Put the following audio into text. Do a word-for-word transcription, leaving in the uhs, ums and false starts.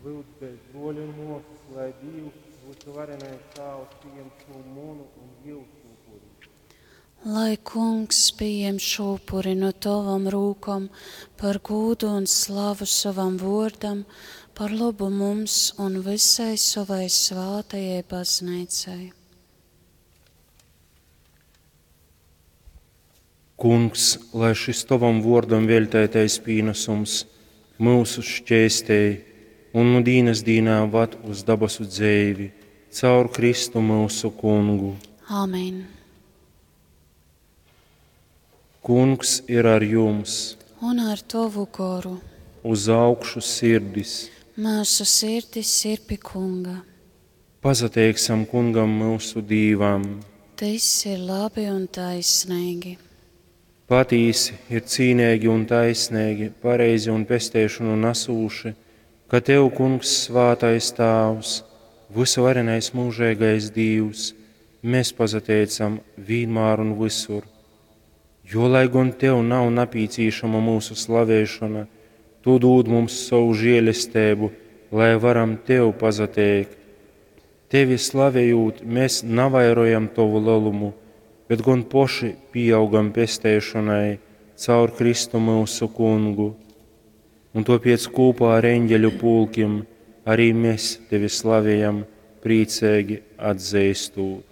Lyudz dēļ bruoļi un muosys, lai Dīvs, vysuvarenais Tāvs, pījem šū munu un jiusu upuri. Lai Kungs pieņem šo upuri no tavam rūkom par gūdu un slavu savam vārdam, par labu mums un visai savai svātajai baznīcai. Kungs, lai šis tovam vuordam veltētais pīnesums mūsu šķēstēj un nu dīnas dīnā vad uz dabasu dzeivi, caur Kristu mūsu kungu. Āmen. Kungs ir ar jums, Un ar tavu goru uz augšu sirdis. mūsu sirdis ir pie Kunga. Pasateiksim kungam mūsu Dīvam. Tas ir labi un taisnīgi. Patīsi ir cīnīgi un taisnīgi, pareizi un pesteišanu nesūši, ka Tev, Kungs, svātais Tāvs, vysuvarenais mūžīgais Dīvs, mēs pasateicam vienmēr un visur. Jo, lai gan Tev nav napīcīšama mūsu slavēšana, Tu dod mums savu žēlestību, lai varam Tev pasateikt. Tevi slavējot, mēs navairojam Tavu lielumu, bet gan poši pieaugam pesteišanai caur Kristu mūsu kungu. Un tāpēc kopā ar eņģeļu pulkim arī mēs Tevi slavējam, priecīgi atzīstot.